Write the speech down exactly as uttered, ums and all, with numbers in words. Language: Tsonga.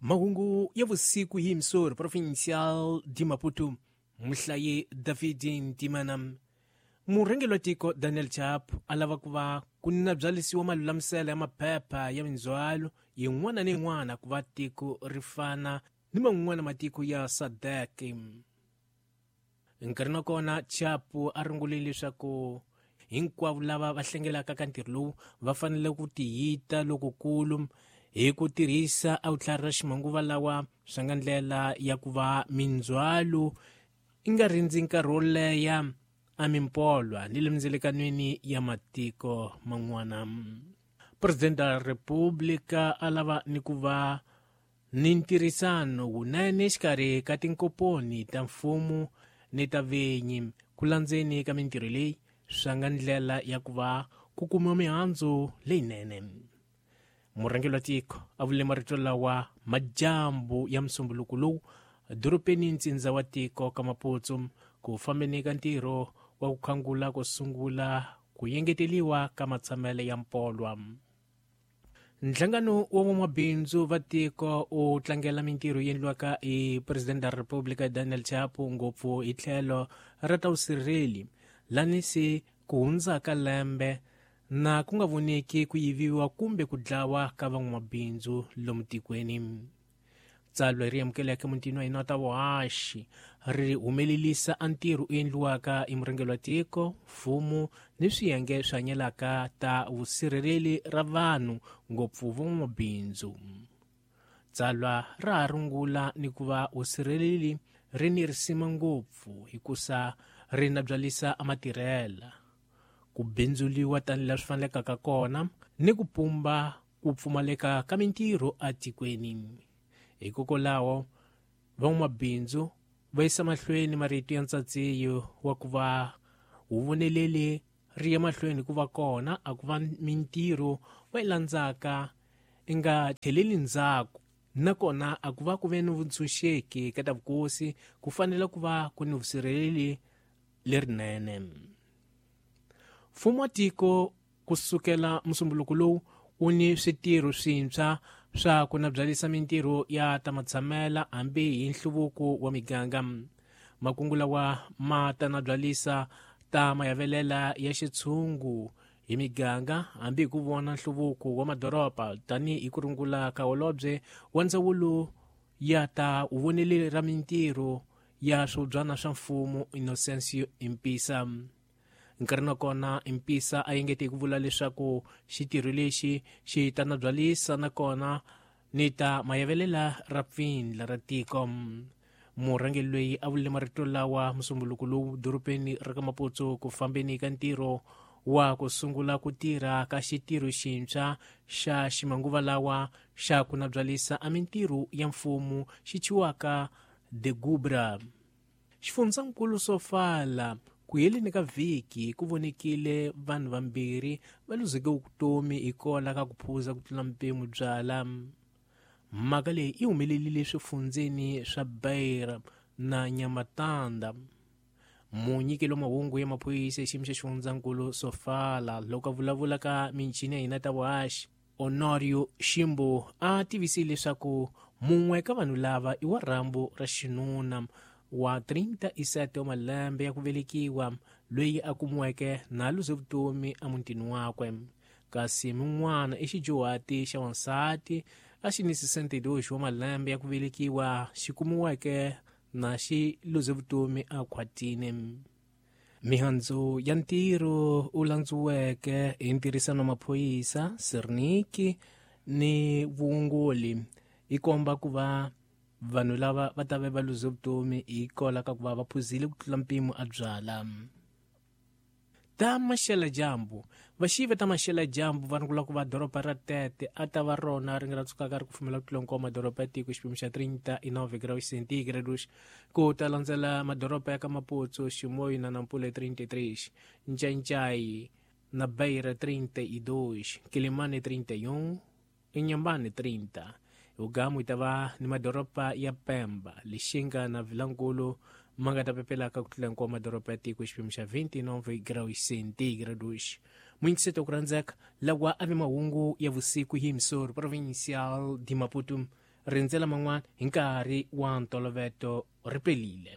Mahungu ya vusiku hi Msori Provincial de Maputo, muhlayi David Ntimana. Murhangeri wa tiko Daniel Chapo a lava ku va ku nabyalisiwa malulamiselo ya maphepha ya mindzhwalo yin'wana ni yin'wana ku va tiko ri fana ni man'wana matiko ya SADC. Nkarhi wa kona Chapo a rungulile leswaku hinkwavo lava va hlengelaka ka ntirho lowu va fanele ku tiyita lokukulu hi ku tirhisa a vutlhari ra ximanguva lawa swi nga ndlela ya ku va mindzhwalo i nga rindzi nkarhi wo leha a mimpolwa ni le mindzelekanweni ya matiko man'wana. Presidente wa Republika a lava ni ku va ni ntirhisano wunene exikarhi ka tinkomponi ta mfumo ni ta vinyi ku landzeni ka mintirho leyi swi nga ndlela ya ku va ku kumiwa mihandzu leyinene. Murhangeri wa tiko a vule marito lawa madyambu ya musumbuluko lowu dorobeni ntsindza wa tiko ka Maputo ku fambeni ka ntirho wa ku khangula ku sungula ku yengeteliwa ka matshamelo ya mpolwa. Nhlangano wa van'wamabindzu va tiko u tlangela mintirho yi endliwaka hi Presidente wa Republika Daniel Chapo ngopfu hi tlhelo ra ta vusirheli lani se ku hundzaka lembe na ku nga voneki ku yiviwa kumbe ku dlawa ka van'wamabindzu lomu tikweni. Tsalwa ri amukeleke mutini wa hina ta vuhaxi ri humelelisa a ntirho u endliwaka hi murhangeri wa tiko, mfumo ni swiyenge swi hanyelaka ta vusirheleli ra vanhu ngopfu van'wamabindzu. Tsalwa ra ha rungula ni ku va vusirheleli ri ni risima ngopfu hikusa ri nabyalisa a matirhela, ku bindzuliwa tanihi laha swi fanelekaka kona ni ku pumba ku pfumaleka ka mintirho etikweni. Hikokwalaho van'wamabindzu va yisa mahlweni marito ya ntsatsiyo wa ku va huvoneleli ri ya mahlweni ku va kona a ku va mintirho va yi landzaka i nga tlheleli ndzhaku, nakona a ku va ku ve ni vuntshunxeki ka ta vukosi ku fanele ku va ku ni vusirheleli lerinene. Mfumo wa tiko ku sukela musumbuluko lowu wu ni switirho swintshwa swa ku nabyalisa mintirho ya ta matshamela hambi hi nhluvuko wa miganga. Makungu lawa ma ta nabyalisa ta mayavelela ya xitshungu hi miganga hambi hi ku vona nhluvuko wa madoroba tanihi ku rungula ka holobye wa ndzawulo ya ta vuvoneli ra mintirho ya swibyana swa mfumo Innocencio Impisa. Nkarhi na kona Impisa a engete hi ku vula leswaku xitirho lexi xi ta nabyalisa nakona ni ta mayavelela ra pfindla ra tiko. Murhangeri loyi a vule marito lawa musumbuluko lowu dorobeni ra ka Maputo ku fambeni ka ntirho wa ku sungula ku tirha ka xitirho xintshwa xa ximanguva lawa xa ku nabyalisa a mintirho ya mfumo xi thyiwaka The Gubra. Xifundzankulu Sofala ku heleni ka vhiki ku vonekile vanhu vambirhi va luzeke vutomi hikwalaho ka ku phuza ku tlula mpimo byala. Mhaka leyi yi humelelile swifundzeni swa Beira na Nhamatanda. Munyikeli wa mahungu ya maphorisa hi xiyimo xa xifundzankulu Sofala loko a vulavula ka michini ya hina ta vuhaxi Honorio Ximbo a tivisile leswaku mun'we ka vanhu lava i wa rhambu ra xinuna wa trinta e sete wa malembe ya ku velekiwa loyi a kumiweke na luze vutomi emutini wakwe, kasi mun'wana i xidyuhati xa wansati a xi ni sessenta e dois wa malembe ya ku velekiwa xi kumiweke na xi luze vutomi a khwatini. Mihandzu ya ntirho u landziweke hi ntirhisano wa maphorisa Serniki ni vuongoli yi komba ku va vanhu lava va ta va va luze vutomi hikwalaho ka ku va va phuzile ku tlula mpimo a byala. Ta maxeladyambu vaxivi ta maxeladyambu va rungula ku va doroba ra Tete a ta va rona ri nga ra tsukaka ri kufumela ku tlula hinkwawo madoroba ya tiko xipimo xa trinta e nove graus centígrados ku ta landzela madoroba ya ka Maputo, Chimoio na Nampula trinta e três, Ncancai na Beira trinta e dois, Quelimane trinta e um, Inhambane trinta. Ugamu yi ta va ni madoroba ya Pemba, Lixinga na Vilankulu ma nga ta pepelaka ku tlula hinkwawo madoroba ya tiko xipimo xa vinte e nove graus centígrados. Muyingiseti wa ku rhandzeka lawa a vi mahungu ya vusiku hi Msori Provincial de Maputo. rindzela man'wana hi nkarhi wa ntoloveto ri pelile.